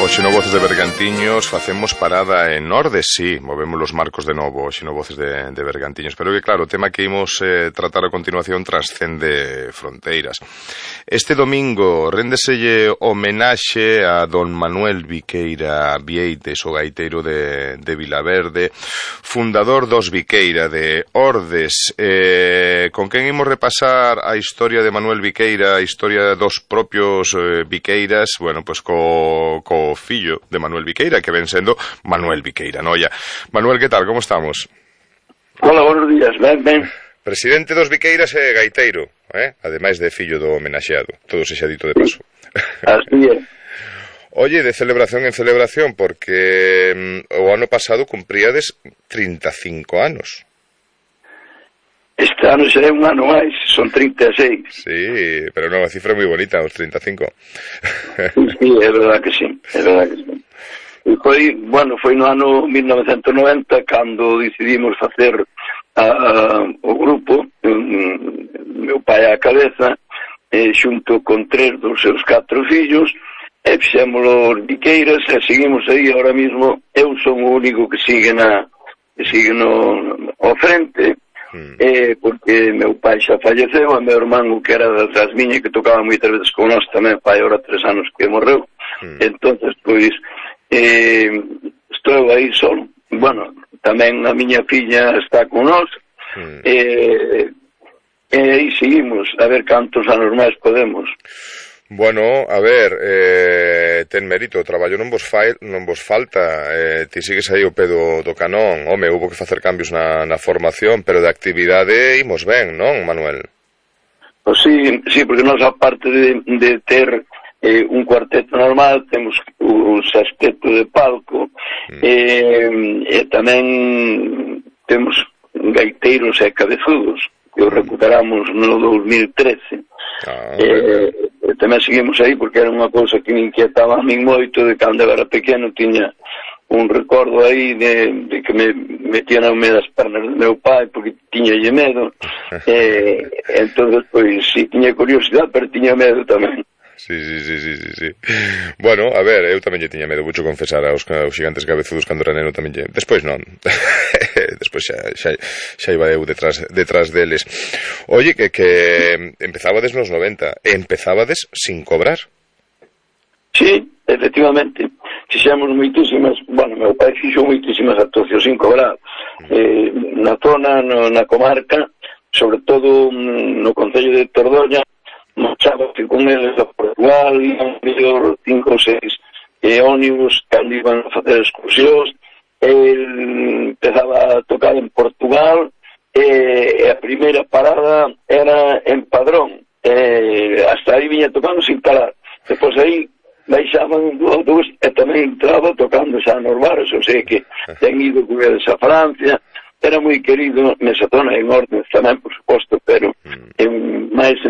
Hoxe no Voces de Bergantiños facemos parada en Ordes, sí, movemos los marcos de novo, hoxe no Voces de Bergantiños, pero que claro, o tema que imos tratar a continuación trascende fronteiras. Este domingo rendeselle homenaxe a don Manuel Viqueira Vieites, o gaiteiro de Vilaverde, fundador dos Viqueira de Ordes, con quen imos repasar a historia de Manuel Viqueira, a historia dos propios Viqueiras, bueno, pois co fillo de Manuel Viqueira, que ven sendo Manuel Viqueira Noia. Manuel, que tal, como estamos? Hola, buenos días, ben. Presidente dos Viqueiras e gaiteiro, ademais de fillo do homenaxeado, todo se xa dito de paso. Así é. Oye, de celebración en celebración, porque o ano pasado cumpríades 35 anos. Este ano será un ano máis, son 36. Sí, pero non, a cifra é moi bonita, os 35. Sí, é verdad que sí, é verdad que sí. E foi no ano 1990 cando decidimos facer o grupo, meu pai á cabeza, xunto con 3 dos seus 4 fillos, e fixemos os Viqueiras e seguimos aí ahora mismo. Eu son o único que sigue ao frente, porque meu pai xa falleceu, e meu irmán, que era das miñas, que tocaba moitas veces con nós, tamén pai ahora 3 anos que morreu. Entonces, pois, estou aí solo. Bueno, tamén a miña filla está con nós, e aí seguimos, a ver cantos anos máis podemos. Bueno, a ver, ten mérito, o traballo non vos falta, ti sigues aí o pé do canón. Home, hubo que facer cambios na formación, pero de actividade imos ben, non, Manuel? Pois sí, porque nós, aparte de ter un cuarteto normal, temos o sexteto de palco, e tamén temos gaiteiros e cabezudos, que os recuperamos no 2013. Tamén seguimos aí porque era unha cousa que me inquietaba a min moito. De cando eu era pequeno tiña un recordo aí de que me metían ao medio das pernas do meu pai porque tiñalle medo, entonces pois si tiña curiosidade, pero tiña medo tamén. Sí. Bueno, a ver, eu tamén lle tiña medo, voucho confesar, aos xigantes cabezudos cando era neno tamén lle... Despois non. Despois xa iba eu detrás deles. Oye, que empezabades nos 90, e empezabades sin cobrar. Sí, efectivamente. Fixemos moitísimas, meu pai fixo moitísimas actuacións sin cobrar. Na zona, na comarca, sobre todo no concello de Tordoña, marchábase con eles a Portugal, iban mellor 5 ou 6 ónibus cando iban a facer excursións. El empezaba a tocar en Portugal, e a primeira parada era en Padrón, hasta aí viña tocando sin parar. Depois aí baixaban do autobús e tamén entraba tocando xa nos bares, ou sea que ten ido con eles a Francia. Era moi querido nesa zona, en Ordes tamén, por suposto, pero máis